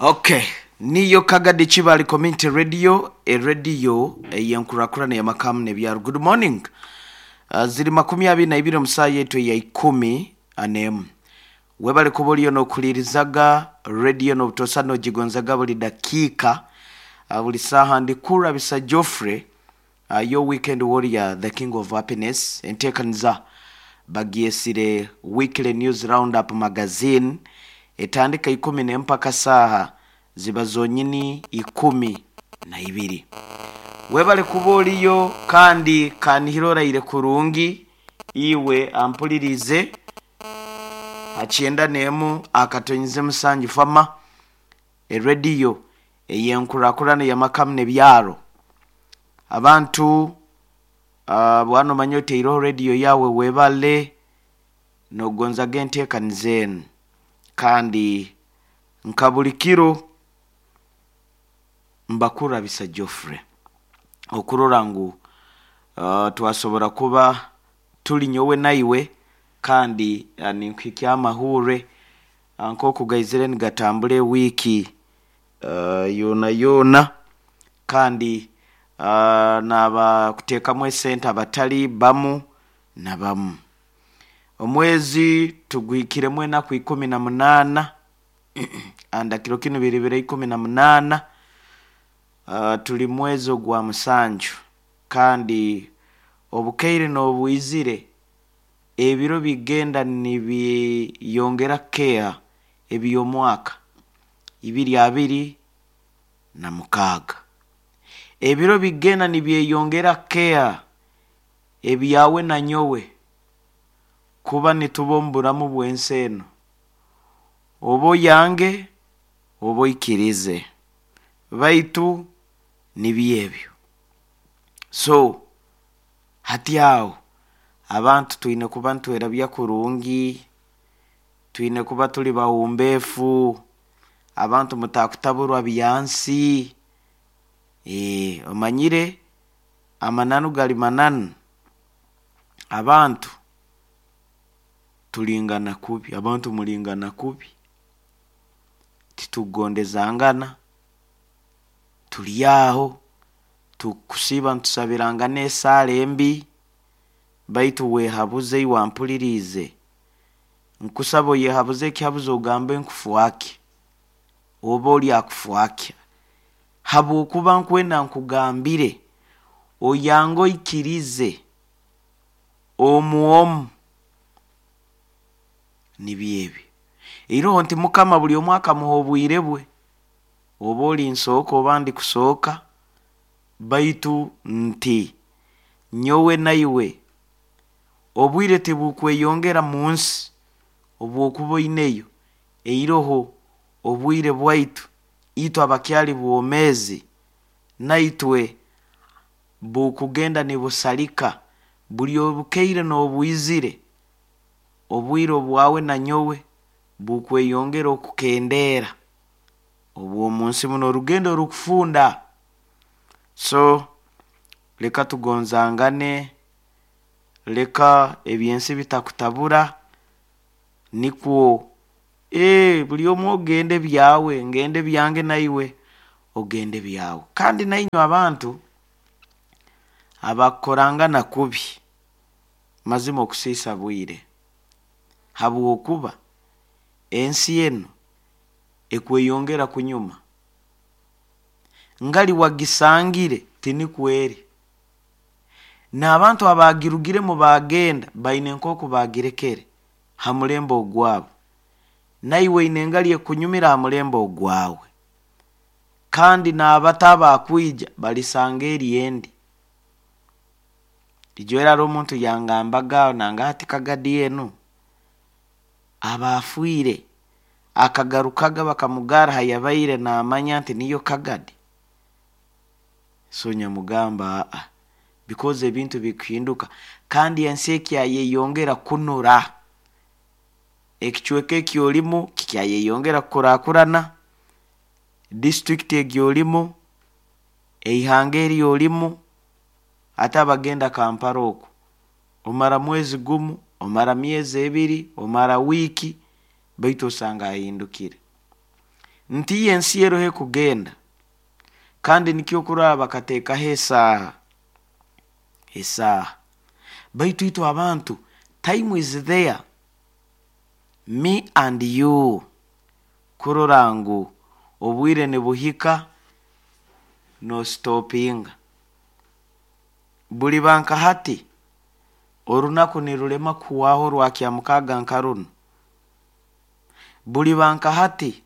Okay, niyo Kagadi Kibali Community Radio, erediyo ey'enkurakurana y'amakamu n'ebyaro. Good morning. Ziri 22 omu saaha yaitu eya 11. Webale kuba oriyo n'okuhulirizaga rediyo n'obutosa n'ogigonzaga buli dakiika, buli saaha. Ndi Kurabisa Geoffrey, your weekend warrior, the king of happiness. Enteekaniza bagyesire Weekly News Roundup Magazine, etandika 11 mpaka saaha ziba zonyini 12. Webale kuba oriyo kandi kanihire oraire kurungi iwe ampulirize ha 91.7 Fama, erediyo ey'enkurakurana y'amakamu n'ebyaro. Abantu bwana omanye oteireho rediyo yawe, webale nogonzaga enteekaniza enu, kandi nka buli kiro mbakurabisa Geoffrey okurora ngu twasobora kuba tuli nyowe naiwe, kandi ninkuhikya amahurre nk'oku gaizire nigatambura ewiiki yoona yoona, kandi n'abakuteekamu esente abatali bamu na bamu. Omwezi tuguhikiremu enaku 18, anda kiro kinu biri biro 18, tuli mwezi ogwa musanju, kandi obukaire n'obwizire ebiro bigenda nibyeyongera kukeeha eby'omwaka 2026. Ebiro bigenda nibyeyongera kukeeha ebyawe na nyowe kuba nituba omu buramu bw'ensi enu, oba oyange oba oikirize, baitu nibyo ebyo. So hati aho abantu twine kuba nitwerabya kurungi, twine kuba tuli bahumbeefu, abantu mutakutaburwa byansi. Omanyire amananu gali mananu, abantu tulingana kubi, abantu mulingana kubi, titugondezangana, tuli aho tukusiiba nitusabirangana esaara embi, baitu weehabuze iwe ampuliriize, nkusaba oyehabuze ekihabuzo ogambe nkufwaki, oba oli akufwaki, habwokuba nkwenda nkugambire oyange oikirize omu omu nibyo ebi. Iroho nti Mukama buli omu akamuha obwire bwe, oba oli nsooka oba ndikusooka, baitu nti nyowe naiwe obwire tibukweyongera munsi obwokuba oineyo, eiroho obwire bwaitu itwe abakyali bwomeezi naitwe bukugenda nibusalika buli obukaire n'obwizire, obwire obwawe na nyowe bukweyongera okukendeera obw'omunsi muno orugendo rukufunda. So leka tugonzangane, leka ebyensi bitakutabura, nikwo buli omu ogende byawe, ngende byange naiwe ogende byawe. Kandi nainywe abantu abakukorangana kubi, mazima okusiisa bwire, habwokuba ensi enu ekweyongera kunyuma, ngali wagisangire tinikwo eri. N'abantu abaagirugiremu baagenda baine nk'oku baagirekere ha mulembe ogwabo, naiwe oine engali ekunyumira ha mulembe ogwawe, kandi n'abato abakwija balisanga eri endi. Ijo era haroho omuntu yangambaga aho nanga hati Kagadi enu aba afiire akagarukaga bakamugarra hayabaire naamanya nti niyo Kagadi. So nyamugamba aa, because ebintu bikuhinduka kandi ensi ekyayeyongera kunura, ekicweka eki orimu kikyayeyongera kukurakurana, disitulikiti egi orimu, eihanga eri orimu, hati abagenda Kampala oku, omara mwezi gumu, omara myezi ebiri, omara wiiki, baitu osanga ahindukire. Nti ensi eroho ekugenda, kandi nikyo okurora bakateekaho esaaha, esaaha. Baitu itwe abantu, time is there, me and you, kurora ngu obwire nibuhika nostopinga. Buliba nka hati, orunaku nirulema kuhwaho orwa Kyamukaaga nka runu. Buliba nka hati,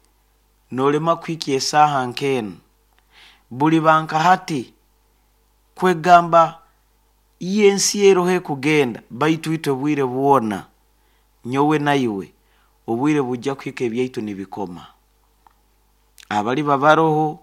nolema kuhikya esaaha nk'enu. Buliba nka hati, kwegamba ensi eroho ekugenda, baitu itwe bwire bwona, nyowe naiwe, obwire bujja kuhika ebyaitu nibikoma. Abaliba baroho